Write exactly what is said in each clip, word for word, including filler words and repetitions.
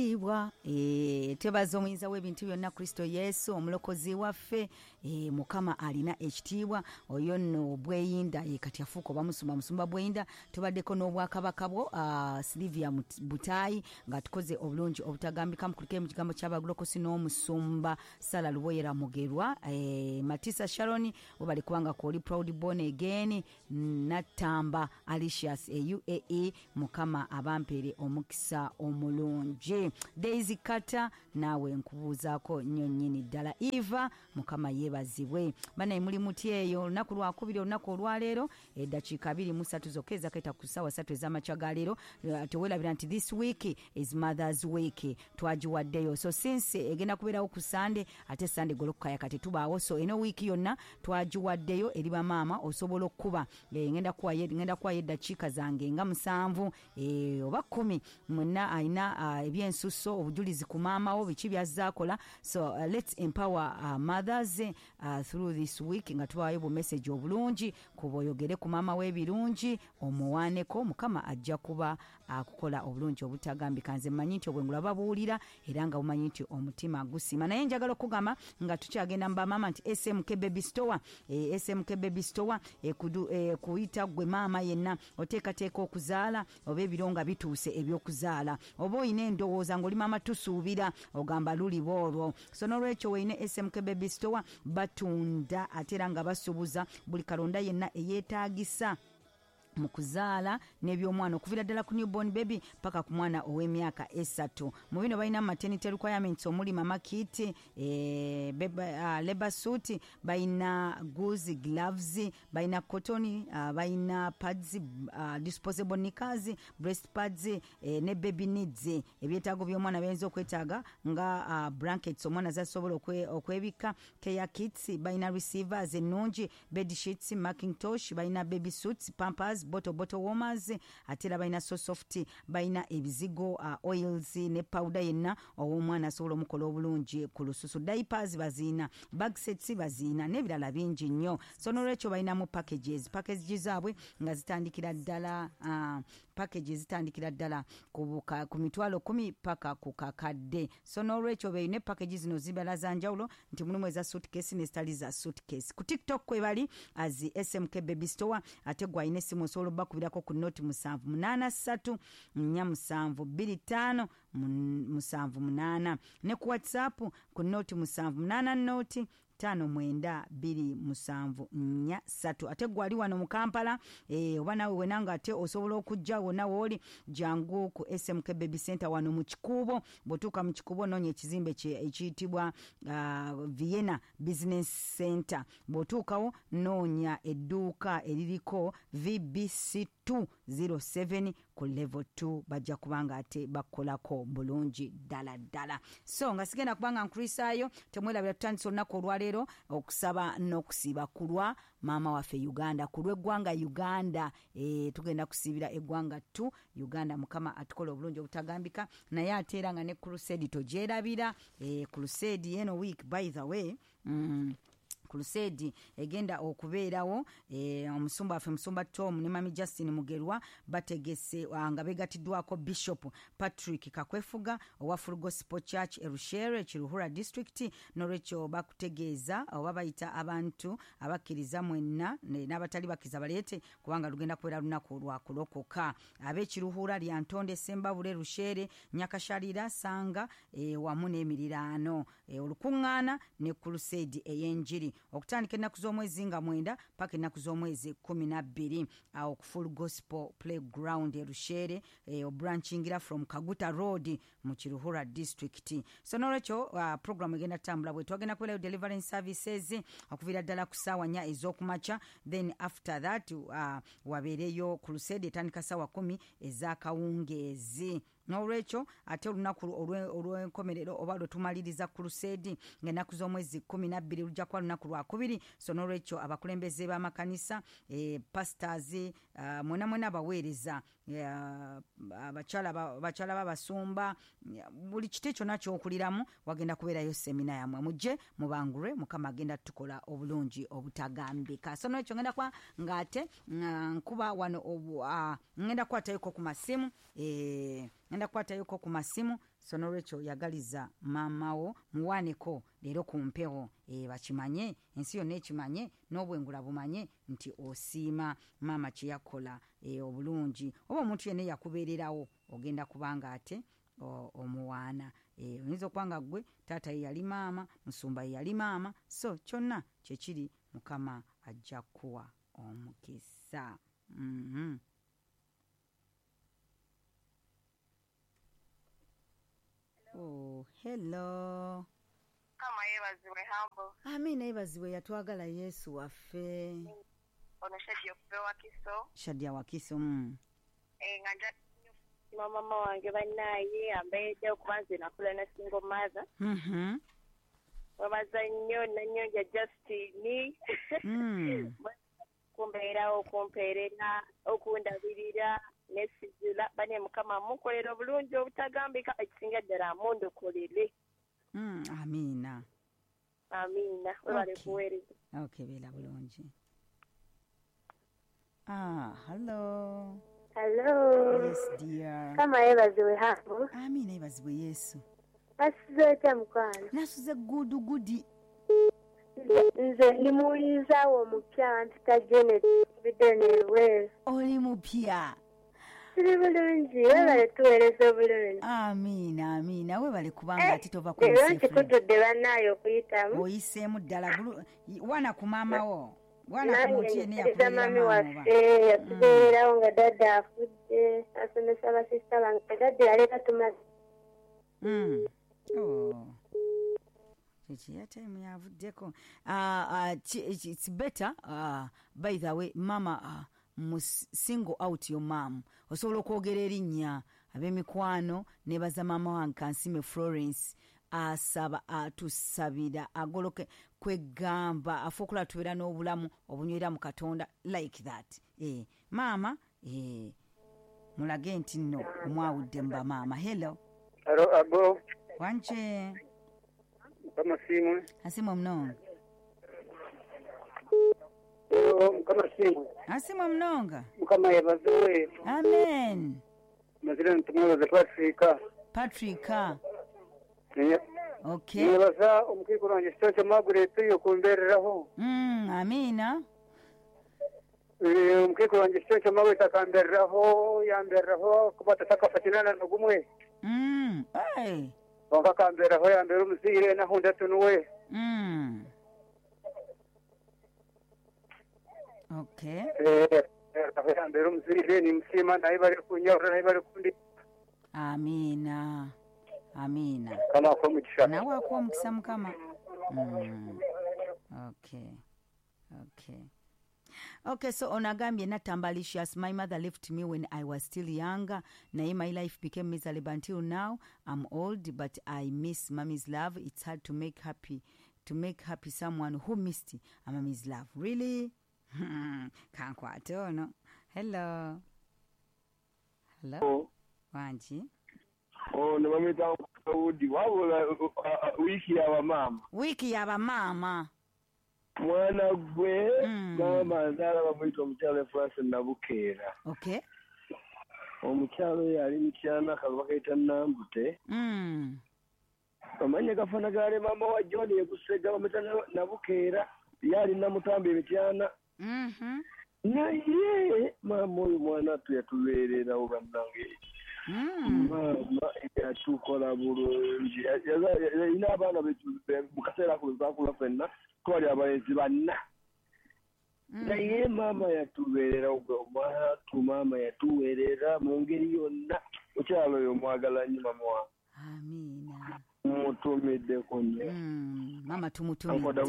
Ekitiibwa eh, twebaza omuyinza w'ebintu byonna, Kristo Yesu omulokozi waffe. eh, Mukama alina ekitiibwa. Oyo nno Bweyinda, ye kati afuuka oba musumba, musumba Bweyinda. Tubaddeko n'obwakabaka bwo, uh, Silivia Butayi, nga tukoze obulungi obutagambika. Mukulike mu kigambo ky'abagulokosi n'omusumba Sala Luboyera Mugerwa. eh, Matisa Sharon, webali kubanga kwoli proud born again. Natamba Alicious e U A E, Mukama abampeere omukisa omulungi. Daisy Kata, naawe nkubuuzaako nnyo nnyini ddala. Eva, Mukama yeebazibwe. Banaye, muli muti eyo? Olunaku lwakubiri, olunaku olwaleero, eddakiika abiri mu ssatu zokka ezakaita ku ssaawa ssatu ez'amakya ga leero. Eh, teweerabira nti this week is Mothers Week, twagiwaddeyo. So since egenda kubeerawo ku Sande, ate Sande golokukaya tetubaawo, so eno wiiki yonna twagiwaddeyo eri bamaama. Osobola okukuba, eh, ngenda kuwayo ngenda kuwayo eddakiika zange nga musanvu eh, oba kkumi, mwenna alina ah, ebyensusso, obujulizi ku maama wo, biki byazze akola. So uh, let's empower uh, mothers uh, through this week nga tubawayo bu message obulungi. Kuba oyogere ku maama w'ebirungi, omuwaaneko, Mukama ajja kuba akukola obulungi obutagambika. Nze mmanyi nti obwengula babuwulira era nga bumanyi nti omutima gusiima. Naye njagala okugamba nga tukyagenda mu bamaama nti S M K Baby Store, eh, S M K Baby Store ekudu- eh, kuyita gwe maama yenna oteekateeka okuzaala, oba ebiro nga bituuse ebyokuzaala, oba oyina endowooza ng'oli maama, tusuubira ogamba luliba olwo. So nolwekyo weine S M K Baby Store, batunda ate era nga basuubuza buli kalonda yenna eyeetaagisa mu kuzaala n'ebyomwana, okuviira ddala ku newborn baby paka ku mwana ow'emyaka esatu. Mu bino balina maternity requirements omuli mama kit, eh, beba- uh, labor suit, balina gauze, gloves, balina cotton, uh, balina pads, uh, disposable knickers, breast pads, eh, ne baby needs, ebyetaago by'omwana byayinza okwetaaga nga uh, blankets omwana zasobola okwe- okwebikka, care kits, balina receivers ennungi, bed sheets, mackintosh, balina baby suits, pampers, bottle bottle warmers, ate era balina so soft, balina ebizigo, uh, oils ne powder yenna ow'omwana asobola omukola obulungi ku lususu, diapers baziina, bag sets baziina n'ebirala bingi nnyo. So nolwekyo balinamu packages packages zaabwe nga zitandikira ddala, uh, package zitandikira ddala ku, buka- ku mitwalo kumi paka ku kakadde. So nolwekyo beine package zino zibala za njawulo nti mulimu eza suitcase nezitali za suitcase. Ku TikTok kwe bali as S M K Baby Store. Ate gwe alina essimu osobola obbakubirako ku noti musanvu munaana ssatu nnya musanvu bbiri ttaano mun- musanvu munaana, ne ku WhatsApp ku noti musanvu munaana noti ttaano mwenda bbiri musanvu nnya ssatu. Ate gwe ali wano mu Kampala, eh, oba naawe wena nga ate osobola okujja wonna wooli, jangu ku S M K Baby Center wano mu Kikuubo. Bw'otuuka mu Kikuubo, noonya ekizimbe kye- ekiyitibwa uh, Vienna Business Center. Bw'otuukawo, noonya edduuka eririko V B C two zero seven ku level two, bajja kubanga ate bakolako bulungi ddala ddala. So nga sigenda kubanga nkulisaayo, temwerabira tutandisa olunaku olwaleero okusaba n'okusiiba ku lwa maama waffe Uganda, ku lw'eggwanga Uganda. e, tugenda kusiibira eggwanga tu Uganda, Mukama atukola obulungi obutagambika. Naye ate era nga ne crusade togyerabira. e, crusade eno week, by the way, mm, crusade egenda okubeerawo, e, omusumba waffe Musumba Tom ne Mami Justin Mugerwa bategese, ah, nga begatiddwako Bishop Patrick Kakwefuga owa Full Gospel Church Erushere, Kiruhura District. Nolwekyo bakutegeeza oba bayita abantu abakkiriza mwenna ne- n'abatali bakkiriza baleete, kubanga lugenda kubeera lunaku lwakulokoka. Ab'ekiruhura, Lyantonde, Sembabule, Rushere, Nyakasharira, Sanga, e, wamu n'emiriraano, e, olukuŋŋaana ne crusade ey'enjiri okutandika ennaku z'omwezi nga mwenda paka ennaku z'omwezi kumi na bbiri, awo ku Full Gospel Playground Erushere, e, obrankingira from Kaguta Road mu Kiruhura District. So nolwekyo uh, program egenda tutambula bwe twagenda kubeerayo deliverance services okuviira ddala ku ssaawa nnya ez'okumakya. Then after that uh, wabeereyo crusade etandika ssaawa kumi ez'akawungeezi. N'olwekyo ate olunaku olwe- olw'enkomerero oba lwe tumaliriza crusade ng'ennaku z'omwezi kumi na bbiri, lujja kuba lunaku lwakubiri. So n'olwekyo abakulembeze b'amakanisa, eh, pastors, uh, mwena mwena abaweereza, eh, abakyala ba- bakyala b'abasumba, buli kiti kyonna kyokuliramu, wagenda kubeerayo seminar yammwe, mujje mubangulwe. Mukama agenda tukola obulungi obutagambika. So nolwekyo ngenda kuba ng'ate nga nkuba wano obu- ah, ngenda kukwatayoko ku masimu, eh, ngenda kukwatayoko ku masimu. So nolwekyo yagaliza maama wo muwaaneko leero ku mpewo, e, bakimanye, ensi yonna ekimanye, n'obwengula bumanye nti osiima maama kye yakola, e, obulungi oba omuntu yenna yakubeererawo ogenda kubanga ate omuwaana. E, oyinza okuba nga ggwe taata ye yali maama, musumba ye yali maama, so kyonna kyekiri, Mukama ajja kuwa omukisa. Mm-hmm. Oh, hello. Kama yebazibwe Humble. Amina, yebazibwe yatwagala Yesu waffe. Ono Shadia okuva Wakiso. Shadia Wakiso. Mm. Eh, nganja mama wange bannaye ambeedde okuba nze nakula na single mother. Mhm. Webaza nnyo nannyonja Justine. Mm. Kumbeerawo, okumpeerera, okundabirira nesizula bane Mukama mukolera obulungi obutagambika, ekisinga ddala mundukolere. Mm, amiina. Amiina, webale kuweereza. Okay, beera bulungi. Ah, hello. Hello. Yes, dear. Kama yebazibwe Humble. Amiina, yebazibwe Yesu. Nasuze otya mukwano? Nasuze gudu gudi. Nze ndi muwuliriza wo omupya, mpita Janet Bidenelwe. Oli mupya? Tuli bulungi, webale tuweereza obulungi. Amiina, amiina, webale kubanga ate tova ku Leero nkikutudde bannaayo okuyitamu. Oyiseemu ddala, wana ku maama wo. Wana ku muntu yenna yakubeerera mami maama waffe, yatubeererawo nga dadda afudde, asomesa basista bange, dadda yaleeta tumaze. Mm. Oh. Kiki time yavuddeko. Uh, uh, it's better, uh, by the way, mama, uh, must single out your mom. Osobola okwogera erinnya ab'emikwano nebaza maama wange Kansime Florence, asaba atusabira agoloke kwegamba afe okulaba tubeera n'obulamu obunywera mu Katonda like that. Eh, maama, eh, mulage nti nno omwawudde mu bamaama. Hello. Hello, abo. Wanje. Mukama simwe. Asimwe mnonga. Hello, Mukama simwe. Asimwe mnonga. Mukama yebaziwe. Amen. Mazira ntumwebaze Patrick. Patrick. Okay. Nebaza omukikuru wange Stonce Margaret yokumbereraho. Mm, amina. Eh, omukikuru wange Stonce Margaret akambereraho, yambereraho kuba tatakafatinana nogumwe. Mm, hey. Konka kamberaho yambera omuziire nahunda tunuwe. Mm. Okay. Eh, yambera omuziire nimusiima naye bari kunyahura naye bari kundi. Amina. Amina. Kama akuwa omukisa. Nawe akuwa omukisa Mukama. Mm. Okay. Okay. Okay, so onagambye Natambalicious, my mother left me when I was still younger. Naye my life became miserable until now. I'm old, but I miss mommy's love. It's hard to make happy to make happy someone who missed a mommy's love. Really? Kankwate ono. Hello. Hello. Wanji. Oh, ne bamuyita Daudi. Wabula wiiki y'abamaama. Wiiki y'abamaama. Mwana gwe, mm. Maama nzaala bamuyita omukyala Francis Nabukeera. Okay. Omukyala oyo ali Mityana, akalu bakayita Nambute. Mm. Amannya gafaanana gaali maama wa John Yekusega bamuyita Nabukeera, ye ali Namutamba e Mityana. Mhm. Naye maama oyo mwana attu yatubeererawo bannange. Mm. Maama yatukola bulungi. Yalina abaana mu kaseera ako bwe ffenna twali abalenzi banna. Naye maama yatubeerera omwana attu, maama yatuweerera mu ngeri yonna. Omukyala oyo mwagala nnyo mama wange. Amiina. Mutumiddeko nnyo. Mm, maama tumutumidde.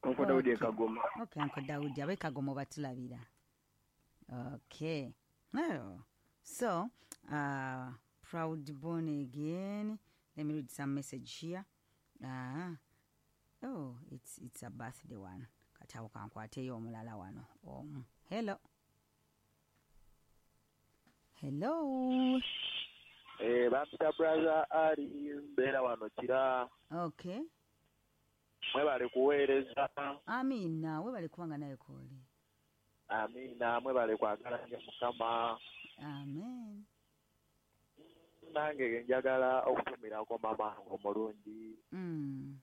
Uncle Daudi e Kagoma. Okay, Uncle Daudi ab'e Kagoma batulabira. Okay. Oh. So, uh, proud born again. Let me read some message here. Ah, oh, it's it's a birthday one. Kati awo kankwateyo omulala wano. Um, hello. Hello. Eh, bampita brother Ali mbeera wano Kira. Okay. Mwebale kuweereza. Amina, webale kubanga naye kooli. Amina, mwebale kwagala nnyo Mukama. Amen. Nange njagala okutumirako mama omulungi. Mm.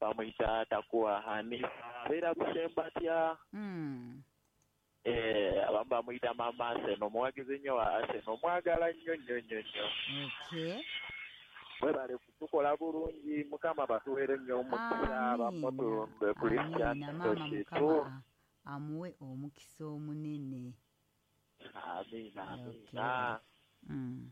Bamuyita Takuwa Hanifa, abeera Busembatya. Mm. Eh, abamu bamuyita mama Arsenal, omuwagizi nnyo wa Arsenal, omwagala nnyo nnyo nnyo nnyo. Okay. Webale kutukola bulungi, Mukama batuweere nnyo omukisa, bamoto Christian Mukama amuwe omukisa omunene. Amiina, amiina. Mm.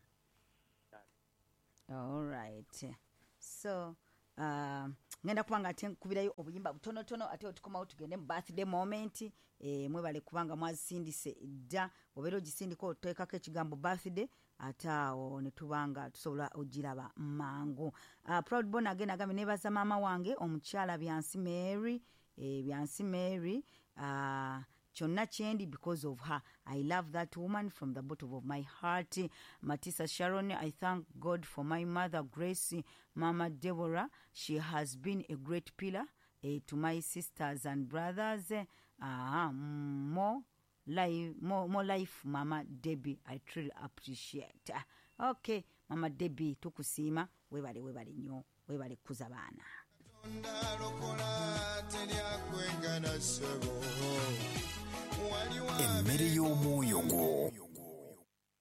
All right. So, uh, ngenda kubanga ate nkubirayo obuyimba butonotono ate otukomawo tugende mu birthday moment. Eh, mwebale kubanga mwazisindise dda, obeera ogisindika oteekako ekigambo birthday ate awo ne tubanga tusobola ogiraba mangu. Uh, Proud Born again agambye nebaza maama wange omukyala Byansi Mary, eh, Byansi Mary, uh, kyonna kyendi because of her. I love that woman from the bottom of my heart. Matisa Sharon, I thank God for my mother Grace, Mama Deborah. She has been a great pillar eh, to my sisters and brothers. Uh, more life, more, more life, Mama Debbie. I truly appreciate. Okay, Mama Debbie, tukusiima, webale webale nnyo, webale kuza baana. Emmere y'omwoyo gwo.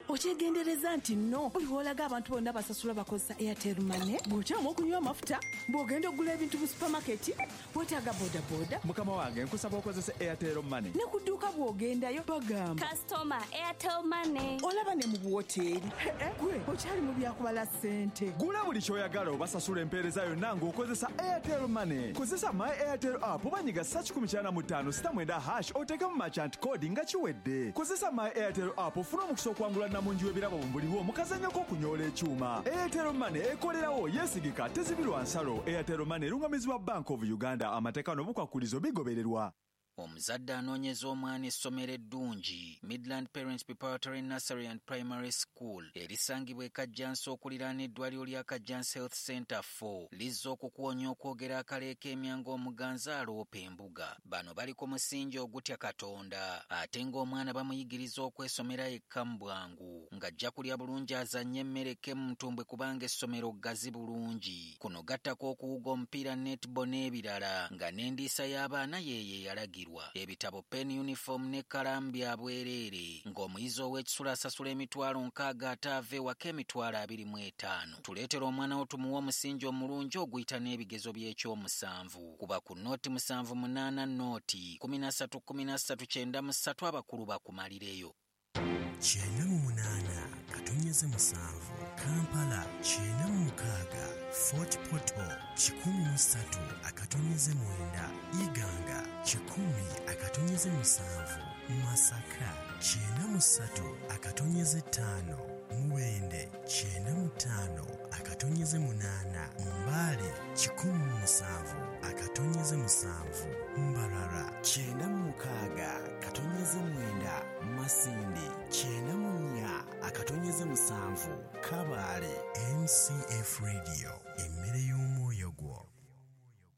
Okyegendereza nti nno buli lw'olaga abantu bonna basasula bakozesa Airtel Money, bw'okyama okunywa amafuta, bw'ogenda okugula ebintu mu supamaketi, weetaaga bodaboda. Mukama wange nkusaba okozese Airtel Money. Ne ku dduuka bw'ogendayo bagamba Customer Airtel Money. Olaba ne mu buwoteeri. Gwe okyali mu byakubala ssente. Gula buli ky'oyagala obasasula empeereza yonna ng'okozesa Airtel Money. Kozesa My Airtel app oba nyiga ssa kikumi kyana mu ttaano sita mwenda hash oteekemu merchant code nga kiwedde. Kozesa My Airtel app ofune omukisa okwangula namungi w'ebirabo buliwo mu kazannyo k'okunyoola ekyuma. Airtel Money ekolerawo, yeesigika, tezibirwa nsalo. Airtel Money erungamizibwa Bank of Uganda. Amateeka n'obukwakulizo bigobererwa. Omuzadde anoonyeza omwana essomero eddungi, Midland Parents Preparatory Nursery and Primary School erisangibwa e Kajjansi okuliraana eddwaliro lya Kajjansi Health Center four lizza okukuwonya okwogera akaleeka emyango omuganzi aloopa embuga. Bano bali ku musingi ogutya Katonda ate ng'omwana bamuyigiriza okwesomera yekka mu bwangu ng'ajja kulya bulungi azannye emmere eke mu ntumbwe kubanga essomero ggazi bulungi. Kuno gattako okuwuga omupiira netball n'ebirala nga n'endiisa y'abaana yeeyo eyalagirwa. Ebitabo, pen, uniform ne kkalaamu bya bwereere ng'omuyizi ow'ekisula asasula emitwalo nkaaga ate ava ewaka emitwalo abiri mu etaano. Tuleetera omwana wo tumuwe omusingi omulungi oguyita n'ebigezo by'ekyomusanvu. Kuba ku nooti musanvu munaana nooti kumi na ssatu kumi na ssatu kyenda mu ssatu abakulu bakumalireyo. Kyenda mu munaana katonyeze musanvu Kampala, kyenda mu mukaaga Fort Portal, kikumi mu ssatu akatonyeze mwenda Iganga, kikumi akatonyeze musanvu Masaka, kyenda mu ssatu akatonyeze ttaano Mubende, kyenda mu ttaano akatonyeze munaana Mbale, kikumi mu musanvu akatonyeze musanvu Mbarara, kyenda mu mukaaga katonyeze mwenda Masindi, kyenda mu nnya akatonyeze musanvu Kabale. M C F Radio, emmere y'omwoyo.